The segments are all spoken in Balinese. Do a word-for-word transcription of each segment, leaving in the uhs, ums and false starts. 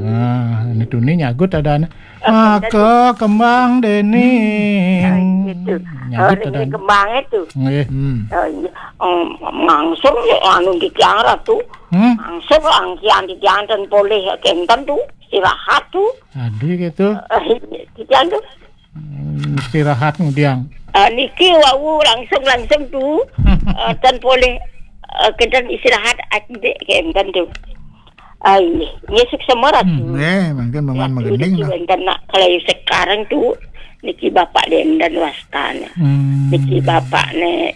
Nah, ini tuni nyagut ada anak. Maka kembang dening. Ah, gitu. Nyagut ada anak. Kembang itu. Nggih. Hmm. Eh, iya. Em, langsung ya anu di tiang ratu. Hmm. Langsung angkian di tiang dan boleh kenten tuh istirahat tuh. Aduh gitu. Eh, di tiang tuh. Hmm, istirahat ngudiang. Eh, niki wau langsung-langsung tuh. Eh, dan boleh eh, kenten istirahat adik kenten tuh. Ah, ini, ini suksema ratu. Hmm, eh, mungkin paman magending niki lah. Wenten nak kalau sekarang tuh niki bapak denden wastane. Hmm. Niki bapak ne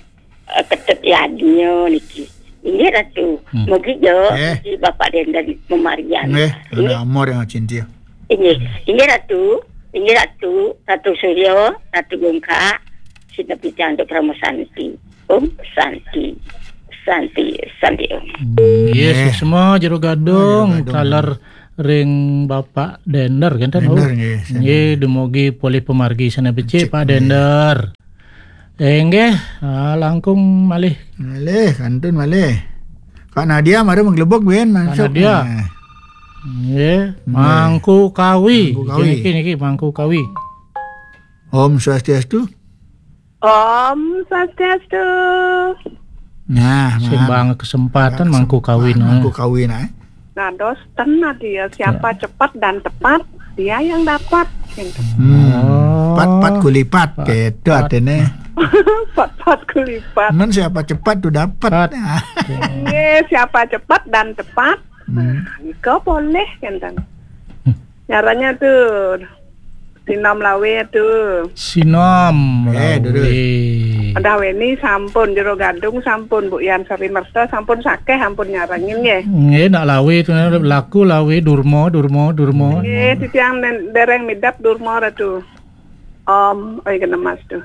eh, ketut yadnya niki. Ini ratu. Hmm. Mungkin jo eh. Niki bapak denden memarian. Eh, ada amor yang cintia. Inggih, inggih Ratu, inggih Ratu, Ratu Surya, Ratu Gungkak, sinepi titiang Parama Santi. Om Santi, Santi, Santi Om. Nggih, suksma Jero Gadung, taler ring Bapak Dender, kenten, Dender, nggih, nggih, dumugi polih pamargi sane becik, Pak Dender. Inggih, ah, langkung malih. Malih, kantun malih. Kak Nadia mara menggelebok, Ben, Kak masuk. Nadia. Nah. Nggih, Mangku Kawi. Mangku Kawi. Niki, niki, niki, Mangku Kawi. Om Swastiastu. Om Swastiastu. Nah, sing bang kesempatan Mangku Kawi, nah. Mangku Kawi, nah. Nah, dos ten dia. Siapa cepat dan tepat, dia yang dapat. Gitu. Hmm. Oh. Pat-pat kulipat, gitu artinya. Pat-pat kulipat. Men siapa cepat tuh dapat. Pat. Nggih, siapa cepat dan tepat, hmm, nah, nika boleh, kenten. Nyaranya tuh, sinom lawe tuh. Sinom eh, lawe. Udah weni sampun, Jero Gadung sampun, Bu Yan Sari Merta sampun sakeh, ampun nyarengin nggih. Nggih, nak lawe tuh laku lawe durma, durma, durma. Nggih, titiang nen-, dereng midap durma ratu. Om, oi kena mas tuh.